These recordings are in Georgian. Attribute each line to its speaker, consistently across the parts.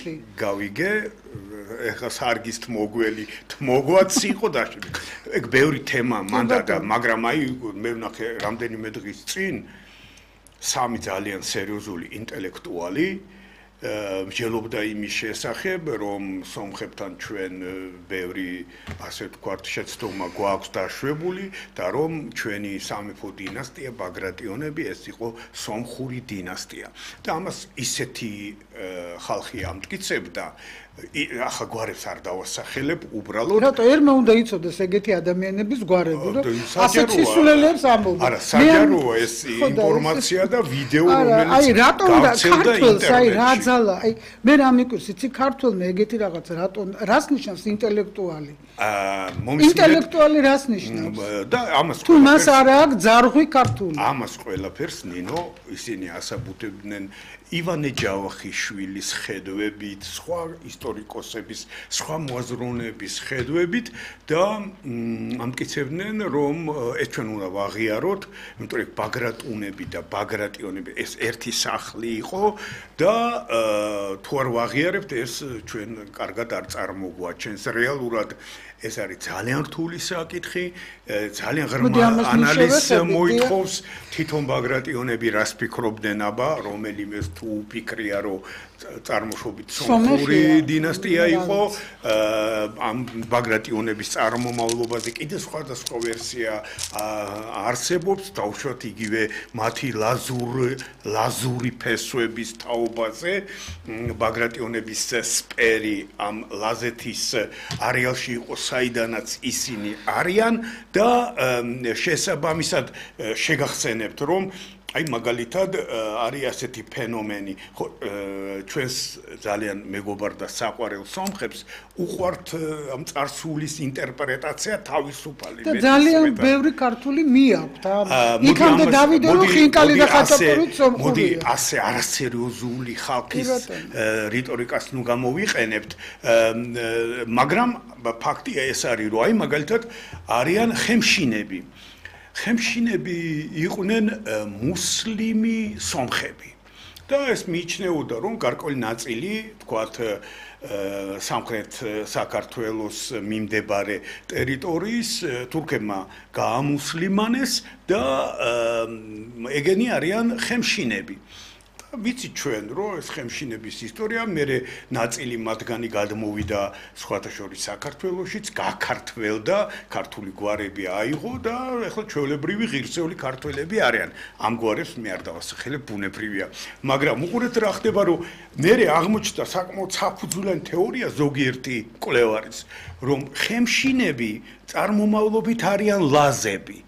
Speaker 1: ნიშნი.
Speaker 2: გავიგე, ეხლა სარგის თმოგველი, თმოგვაც იყო დაშლილი. ეგ ბევრი თემა მანდა და მაგრამ აი მე ვნახე რამდენიმე დღის წინ სამი ძალიან სერიოზული ინტელექტუალი მსჯელობდა იმის შესახებ, რომ სომხებთან ჩვენ ბევრი ასე ვთქვათ შეცდომა გვაქვს დაშვებული და რომ ჩვენი სამეფო დინასტია ბაგრატიონები ეს იყო სომხური დინასტია. და ამას ისეთი ხალხი ამტკიცებდა ახლა გვარებს არ დავასახელებ უბრალოდ
Speaker 1: რატო ერმა უნდა იცოდეს ეგეთი ადამიანების გვარები რომ ასეთ სისულელეებს ამბობენ
Speaker 2: არა საჯაროა ეს ინფორმაცია და ვიდეო რომელიც
Speaker 1: აი რატო უნდა ქართველს აი რა ძალა აი მე რა მიკვირს იცი ქართველმა ეგეთი რაღაც რატო რას ნიშნავს ინტელექტუალი ინტელექტუალი რას ნიშნავს
Speaker 2: და ამას
Speaker 1: თუ მას არ აქვს ძარღვი ქართული
Speaker 2: ამას ყველაფერს ნინო ისინი ასაბუთებდნენ ივანე ჯავახიშვილის ხედვებით, სხვა ისტორიკოსების, სხვა მოაზროვნეების ხედვებით და ამტკიცებდნენ, რომ ეს ჩვენ უნდა ვაღიაროთ, იმიტომ რომ ბაგრატუნები და ბაგრატიონები ეს ერთი სახლი იყო და თუ არ ვაღიარებთ, ეს ჩვენ კარგად არ წარმოგვაჩენს რეალურად ეს არის ძალიან რთული საკითხი, ძალიან ღრმა ანალიზს მოითხოვს თვითონ ბაგრატიონები რას ფიქრობდნენ აბა, რომელიმე თუ ფიქრია რომ წარმოშობით სომხური დინასტია იყო, ამ ბაგრატიონების წარმომავლობაზე კიდე სხვადასხვა ვერსია არსებობს, დავუშვათ იგივე მათი ლაზური ფესვების თაობაზე, ბაგრატიონების სპერი ამ ლაზეთის არეალში იყო საიდანაც ისინი არიან და შესაბამისად შეგახსენებთ რომ აი მაგალითად არის ასეთი ფენომენი ხო ჩვენს ძალიან მეგობარ და საყვარელ სომხებს უყვართ ამ წარსულის ინტერპრეტაცია თავისუფალი
Speaker 1: და ძალიან ბევრი ქართული მიაქვთ იქამდე დავიდე რომ ხინკალი და ხაჭაპური სომხურია
Speaker 2: მოდი ასე არასერიოზული ხალხის რიტორიკას ნუ გამოვიყენებთ მაგრამ ფაქტია ეს არის რომ აი მაგალითად არიან ხემშინები ხემშინები იყვნენ მუსლიმი სომხები და ეს მიიჩნეოდა რომ გარკვეული ნაწილი თქვათ სამხრეთ საქართველოს მიმდებარე ტერიტორიის თურქებმა გაამუსლიმანეს და ეგენი არიან ხემშინები ვიცი ჩვენ რომ ეს ხემშინების ისტორია მერე ნაწილი მათგანი გადმოვიდა სხვათა შორის საქართველოშიც გაქართველდა ქართული გვარები აიღო და ახლა ჩვეულებრივი ღირსეული ქართველები არიან ამ გვარებს მე არ დავასახელებ ბუნებრივია მაგრამ უყურეთ რა ხდება რომ მერე აღმოჩნდა საკმაოდ საფუძვლიანი თეორია ზოგიერთი მკვლევარის რომ ხემშინები წარმომავლობით არიან ლაზები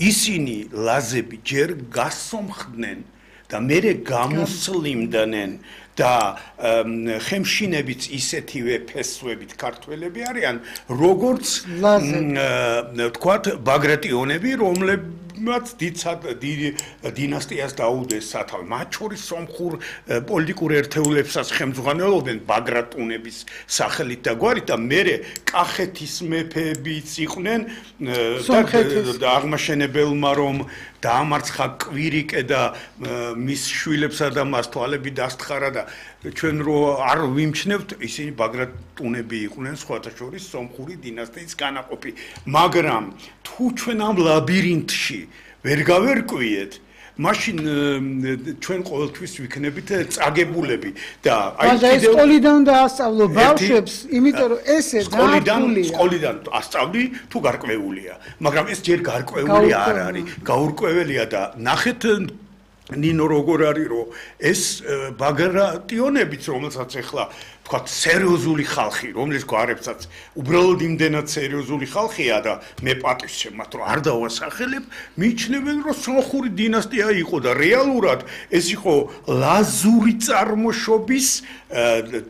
Speaker 2: ისინი ლაზები ჯერ გასომხდნენ და მერე გამოსლიმდნენ და ხემშინებიც ისეთივე ფესვებით ქართველები არიან როგორც თქვათ ბაგრატიონები რომლებმაც დინასტიას დაუდეს სათავე მათ შორის სომხურ პოლიტიკურ ერთეულებსაც ხელმძღვანელობდნენ ბაგრატუნების სახელით და გვარით და მერე კახეთის მეფეებიც იყვნენ და აღმაშენებელმა რომ დაამარცხა კვირიკე და მის შვილებსა და მას თვალები დასთხარა და ჩვენ რო არ ვიმჩნევთ ისინი ბაგრატუნები იყვნენ სხვათა შორის სომხური დინასტიის განაყოფი მაგრამ თუ ჩვენ ამ ლაბირინთში ვერ გავერკვიეთ მაშინ ჩვენ ყოველთვის ვიქნებით წაგებულები და
Speaker 1: აი ეს სკოლიდან დაასწავლო ბავშვებს იმიტომ რომ ესე დაარქვილია
Speaker 2: სკოლიდან ასწავლი თუ გარკვეულია მაგრამ ეს ჯერ გარკვეული არ არის გაურკვეველია და ნახეთ ნინო როგორ არის რომ ეს ბაგრატიონებიც რომელსაც ახლა თქვათ სერიოზული ხალხი რომლის გვარებსაც უბრალოდ იმდენად სერიოზული ხალხია და მე პატივს შემათ რომ არ დავასახელებ მიიჩნევენ რომ სომხური დინასტია იყო და რეალურად ეს იყო ლაზური წარმოშობის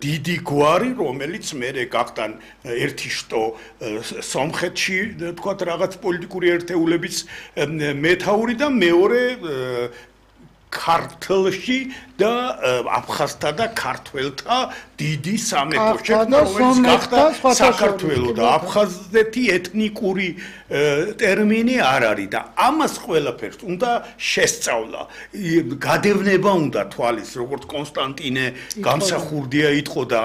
Speaker 2: დიდი გვარი რომელიც მერე გახდა ერთი შტო სომხეთში თქვათ რაღაც პოლიტიკური ერთეულების მეთაური და მეორე ქართლში და აფხაზთა და ქართველთა დიდი სამეფოში რომელიც გახდა საქართველო და აფხაზეთი ეთნიკური ტერმინი არ არის და ამას ყველაფერს უნდა შესწავლა გადევნება უნდა თვალის როგორც კონსტანტინე გამსახურდია იტყოდა